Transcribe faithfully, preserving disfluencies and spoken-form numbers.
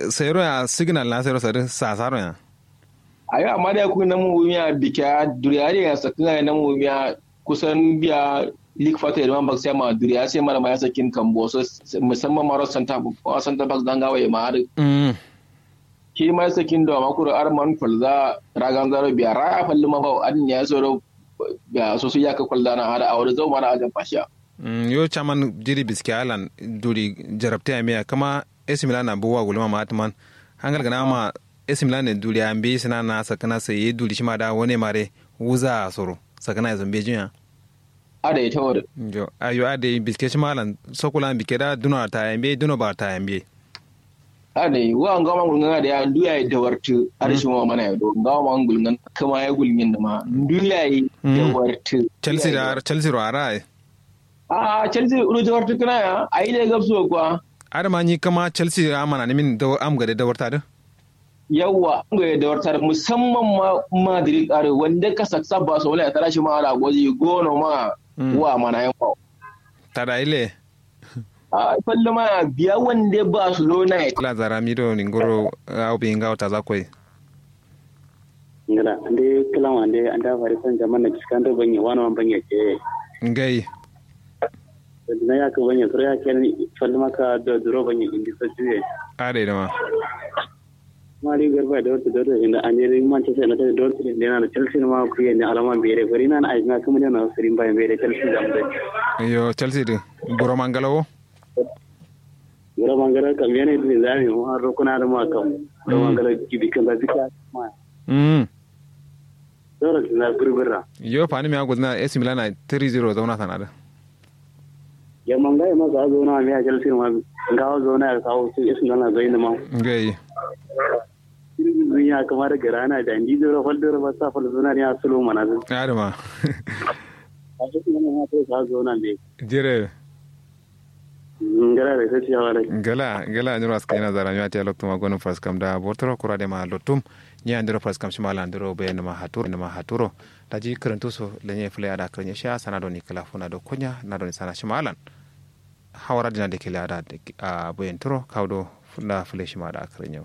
Sairo ya signal na sairo sadǝ sasaro ya. Ayo amma da ya kuyi namu wumiya bikiya duriya da ya sakkǝna ya namu wumiya kusan biya lik fata ya duma bak sai ma duriya sai mara ma ya sakkin kambo so musamman maro santa santa bak zanga waye ma har. Shi ma ya sakkin do amma kuro arman falza ragan zaro biya raya falli ma ba adin ya soro biya so su ya ka kwalda na har a wani zau mara ajan fashiya. Yo chaman jiri biske alan duri jarabte amiya kama esimila na buwa gulma ma atman hangal gana ma esimila ne duri ambe sina na sakana sai duri shima da wane mare wuza soro sakana ya zambe jinya. Ada ita wada. Jo ayo ada biske shima alan sokula bike da duno ta yambe duno ba ta yambe. Ada wa ngawa mangul ngana da ya ndu ya dawartu ada shima mana ya do ngawa mangul ngana kama ya gulgin ma ndu ya yi dawartu. Chelsea da chelsea ro ara ai. A chelsea ro dawartu kana ya ai da gabso kwa. Ada ma nyi kama chelsea amana ni min dawar am gade dawarta da. Yawwa am gade dawarta da musamman ma madrid are wanda ka saksa ba so wala ya tara shi ma ara gozi gono ma wa mana yan kwa. Tada ile. A falle ma biya wande barcelona ya. Kala zara mido ningoro au bi ngawo taza koi. Ngala nde kala ma nde anda fari san jaman na kiskando banye wano man banye ce. Ngai. Na ya ka banye sura ya ken falle ma ka do duro banye indi so juye. Ade dama. Mari garba da wata dole inda an yi man ta sai na ta dole ne na chelsea ma ku yi ne alama bere bari na ai na kuma ne na sirin ba bere chelsea da mu. Yo chelsea din buro mangalawo. Buro mangalawo kam yana da zami mu har rukuna da ma kam buro mangalawo gibi kan da bika ma. Mm. Dole na burbura. Yo fani mi agudna ac milan na three zero zauna sanada. Yamma ngai ma sa zauna mi a chelsea ma ngawo zauna ya kawo su isu nana zai ma. Ngai. Irin ya kamar garana da ndi dora fal dora ba sa fal zauna ne a sulo mana zai. Adama. A isu nana ma to sa zauna ne. Jire. Ngala da sai ya wala. Ngala ngala nyiro aska ina zara nyiro tiya loktu ma gonin faskam da bortoro kura de ma lotum. Nya ndiro faskam shima la ndiro be nima haturo nima haturo. Daji kǝrǝntu so lenye fǝle ada kǝrǝnye shiya sana doni kǝla funa do konya na doni sana shima alan. Hawara dina de kǝle ada a boyen turo kawo do funa fǝle shima ada kǝrǝnye.